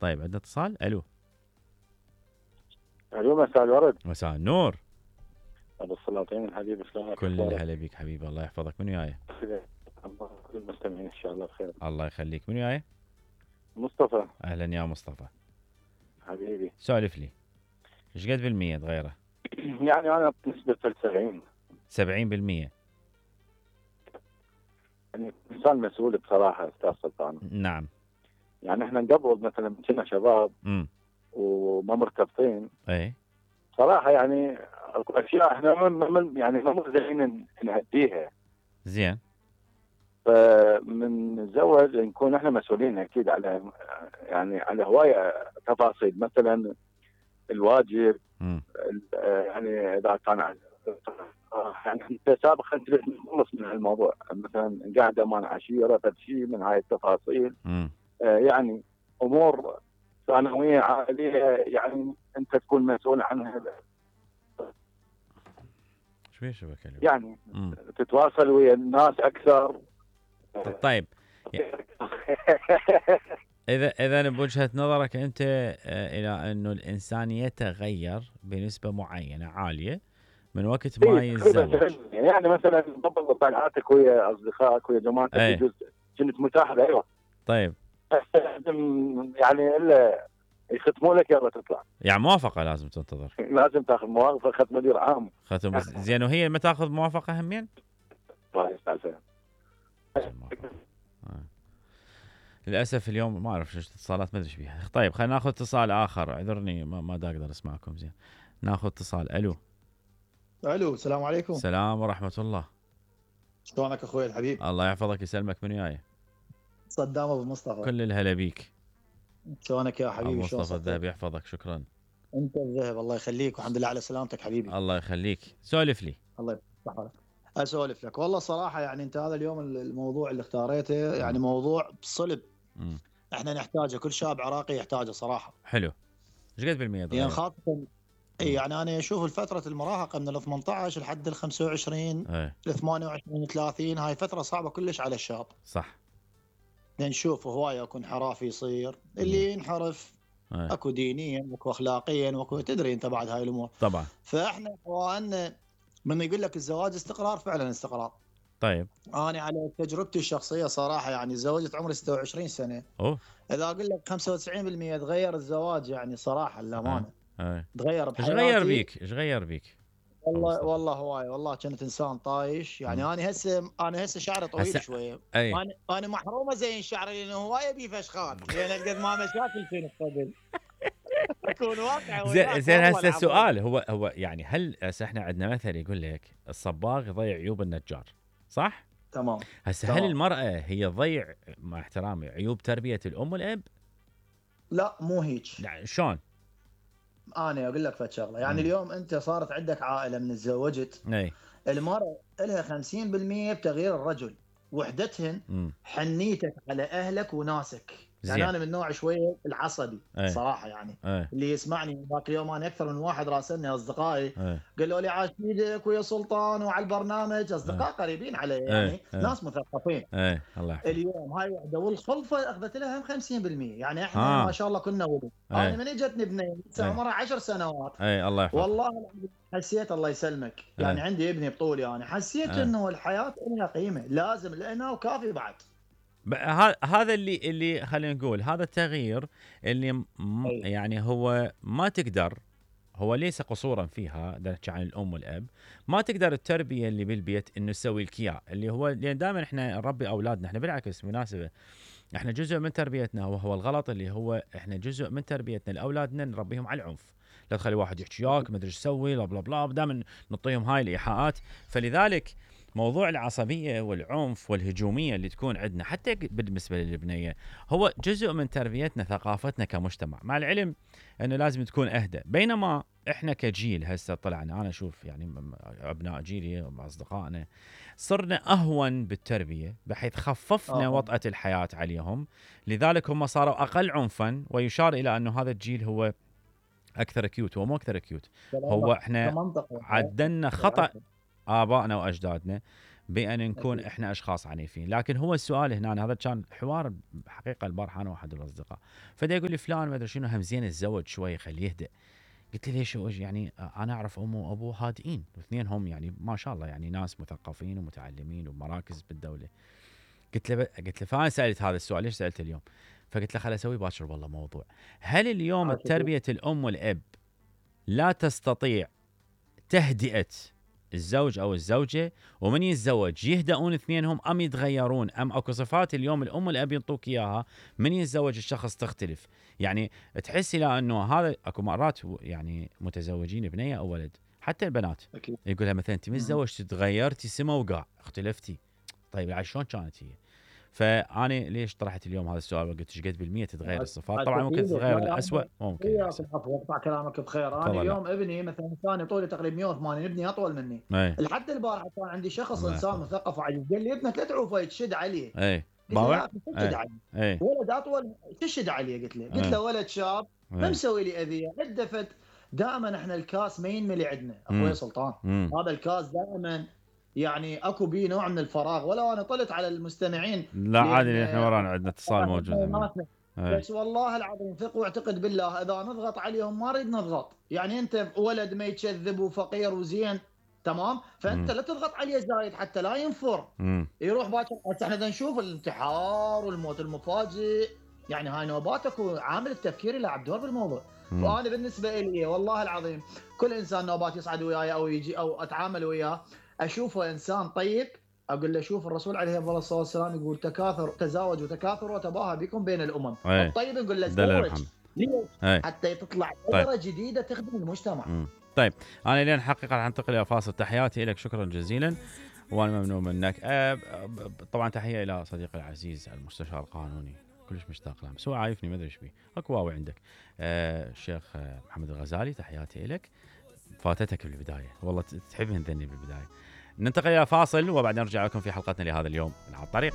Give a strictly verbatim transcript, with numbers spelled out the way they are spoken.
طيب عندنا اتصال. الو. الو مساء الورد. مساء النور. ابو السلاطين الحبيب، شلونك؟ كل الهلا بيك حبيبي، الله يحفظك. من وياي؟ كل المستمعين ان شاء الله بخير. الله يخليك. من وياي؟ مصطفى. اهلا يا مصطفى حبيبي سولف لي، ايش قد بالمية تغيره؟ يعني انا بنسبه سبعين سبعين بالمية. يعني انسان مسؤول بصراحه استاذ سلطان. نعم. يعني احنا قبل مثلا كنا شباب امم وما مرتبطين، اي صراحه يعني اكو اشياء احنا ما يعني ما مرزقين نأديها. زين. فمن نتزوج نكون احنا مسؤولين اكيد على يعني على هوايه تفاصيل، مثلا الواجب. امم يعني اذا كان يعني انت سابقا انت تخلص من الموضوع، مثلا قاعده مع عشيره فشيء من هاي التفاصيل. امم آه يعني امور ثانويه عائليه يعني انت تكون مسؤول عنها. شو بيه شبكه اليوم؟ يعني مم. تتواصل ويا الناس اكثر. طيب اذا اذا بوجهه نظرك انت آه، الى انه الانسان يتغير بنسبه معينه عاليه من وقت ما يتزوج. يعني مثلا قبل طلعاتك ويا اصدقائك ويا جماعتك ايه. يجوز كنت متاحه، ايوه. طيب يعني الا يختموا لك يلا تطلع. يعني موافقه لازم تنتظر. لازم تاخذ موافقه ختم مدير عام. ختم بس زين، وهي ما تاخذ موافقه همين؟ آه. للاسف اليوم ما اعرف ايش اتصالات ما ادري ايش بيها. طيب خلينا ناخذ اتصال اخر، اعذرني ما ما دا اقدر اسمعكم زين. ناخذ اتصال. الو. الو السلام عليكم. السلام ورحمه الله. شلونك اخوي الحبيب؟ الله يحفظك يسلمك. من وياي؟ صدام ابو مصطفى. كل الهلا بيك. شلونك يا حبيبي؟ مصطفى مصطفى الذهبي يحفظك. شكرا. انت الذهب، الله يخليك، والحمد لله على سلامتك حبيبي. الله يخليك. سولف لي. الله يصحك. اسولف لك والله صراحه، يعني انت هذا اليوم الموضوع اللي اختاريته يعني م. موضوع بصلب م. احنا نحتاجه، كل شاب عراقي يحتاجه صراحه. حلو. ايش قد بالمية؟ يعني خاصه يعني انا اشوف الفتره المراهقه من ال ثمانية عشر لحد ال خمسة وعشرين ل ثمانية وعشرين ثلاثين، هاي فتره صعبه كلش على الشاب. صح. نشوف هوايه يكون حرافي يصير، اللي ينحرف أي. اكو دينيا واكو اخلاقيا واكو تدري انت بعد هاي الامور طبعا. فاحنا وان من يقول لك الزواج استقرار، فعلا استقرار. طيب انا على تجربتي الشخصيه صراحه يعني تزوجت عمري ستة وعشرين سنه. اوه. اذا اقول لك خمسة وتسعين بالمية تغير الزواج، يعني صراحه للامانه تغير بحياتي. ايش غير بيك؟ ايش غير بيك؟ والله والله هواي، والله كنت انسان طايش يعني. م. انا هسه انا هسه شعري طويل هسه... شويه. أي. انا انا محرومه زين شعري لانه هوايه بيه فشخات، لان قد ما مشاكل كنت قبل. اكون واقع. زين زين هسه السؤال هو هو يعني هل هسه احنا عندنا مثل يقول لك الصباغ يضيع عيوب النجار، صح؟ تمام. هسه هل المراه هي تضيع مع احترامي عيوب تربيه الام والاب؟ لا مو هيك. يعني شلون؟ انا اقول لك فد شغله، يعني م. اليوم انت صارت عندك عائله من تزوجت، اي المراه لها خمسين بالمية بتغيير الرجل، وحدتهن م. حنيتك على اهلك وناسك. يعني زي. انا من نوع شويه العصبي أي. صراحه يعني أي. اللي يسمعني ذاك اليوم انا اكثر من واحد راسلني اصدقائي قالوا لي عاش ايدك ويا سلطان وعلى البرنامج، اصدقاء أي. قريبين علي يعني أي. ناس مثقفين. اي الله يحفظك. اليوم هاي وحده والخلفه اخذت لها خمسين بالمية، يعني احنا آه. ما شاء الله كنا ولد. انا من اجتني بنيه عمرها عشر سنوات. اي الله يحفظك. والله حسيت الله يسلمك أي. يعني عندي ابني بطولي، انا يعني حسيت أي. انه الحياه لها قيمه، لازم لانه وكافي بعد. هذا اللي اللي خلينا نقول هذا التغيير اللي م يعني هو ما تقدر، هو ليس قصورا فيها، نحكي عن الام والاب، ما تقدر التربيه اللي بالبيت انه تسوي لك اياه، اللي هو لان دائما احنا نربي اولادنا، احنا بالعكس مناسبه احنا جزء من تربيتنا وهو الغلط اللي هو احنا جزء من تربيتنا لاولادنا نربيهم على العنف، لا تخلي واحد يحكي وياك ما ادري ايش تسوي لا بلا بلا، دائما نعطيهم هاي الايحاءات. فلذلك موضوع العصبية والعنف والهجومية اللي تكون عندنا حتى بالنسبة للبنية هو جزء من تربيتنا ثقافتنا كمجتمع، مع العلم أنه لازم تكون أهدى. بينما إحنا كجيل هسه طلعنا، أنا أشوف يعني أبناء جيلي وأصدقائنا صرنا أهون بالتربية بحيث خففنا أوه. وطأة الحياة عليهم، لذلك هم صاروا أقل عنفا، ويشار إلى أنه هذا الجيل هو أكثر كيوت. هو مو أكثر كيوت، هو إحنا عدلنا خطأ آبائنا وأجدادنا بان نكون أكيد. احنا اشخاص عنيفين. لكن هو السؤال هنا، هذا كان حوار حقيقه البارحه انا واحد الاصدقاء، فدا يقول لي فلان ما ادري شنو هم زين الزوج شوي خليه يهدأ. قلت له ليش؟ يعني انا اعرف امه وابوه هادئين واثنين هم يعني ما شاء الله يعني ناس مثقفين ومتعلمين ومراكز بالدوله. قلت له قلت له فانا سالت هذا السؤال ليش سالته اليوم؟ فقلت له خل اسوي باكر والله موضوع. هل اليوم تربيه الام والاب لا تستطيع تهدئه الزوج او الزوجه، ومن يتزوج يهدؤون اثنينهم ام يتغيرون، ام اكو صفات اليوم الام والاب ينطوك اياها من يتزوج الشخص تختلف؟ يعني تحس الى انه هذا اكو مرات يعني متزوجين بنيه او ولد حتى البنات أكيد. يقولها مثلا انت من تزوجتي تغيرتي سما وقاع اختلفتي. طيب يعني شلون كانت هي؟ فانا ليش طرحت اليوم هذا السؤال وقلت ايش قد بالمية تتغير الصفات؟ طبعا ممكن تتغير الأسوأ ممكن يحسن. اقطع كلامك بخير. انا اليوم لا. ابني مثلا ثاني طولي تقريبا مية وثمانين، ابني اطول مني. لحد البارحه كان عندي شخص انسان مثقف وعجيب قال لي ابنك لا تعوفه يتشد عليه. اي باوع تشد عليه ولد اطول تشد عليه. قلت له قلت له ولد شاب ما مسوي لي اذيه هدفت. دائما احنا الكاس ما ينملي عندنا اخوي سلطان. مم. هذا الكاس دائما يعني اكو بيه نوع من الفراغ. ولو انا طلت على المستمعين لا عادي احنا ورانا عندنا اتصال موجود. بس والله العظيم ثق واعتقد بالله اذا نضغط عليهم ما نريد نضغط. يعني انت ولد ما يتكذب وفقير وزين تمام، فانت م. لا تضغط عليه زايد حتى لا ينفر م. يروح باكر. احنا بدنا نشوف الانتحار والموت المفاجئ، يعني هاي نوباتك وعامل التفكير يلعب دور بالموضوع. م. فانا بالنسبه لي والله العظيم كل انسان نوبات يصعد وياي او يجي او اتعامل وياه اشوفه انسان طيب، اقول له شوف الرسول عليه افضل الصلاه والسلام يقول تكاثر تزاوجوا وتكاثروا وتباهى بكم بين الامم. أي. الطيب نقول له تزوج ليش؟ حتى تطلع قدره طيب. جديده تخدم المجتمع. مم. طيب انا لين حقيقه راح انتقل الى فاصل. تحياتي لك شكرا جزيلا وانا ممنون منك. أه طبعا تحيه الى صديقي العزيز المستشار القانوني كلش مشتاق له بس هو عايفني ما ادري ايش بيه. اكو واوي عندك أه الشيخ محمد الغزالي تحياتي لك. فاتتك بالبدايه والله تحبين ذني بالبدايه. ننتقل الى فاصل وبعدين نرجع لكم في حلقتنا لهذا اليوم من على الطريق.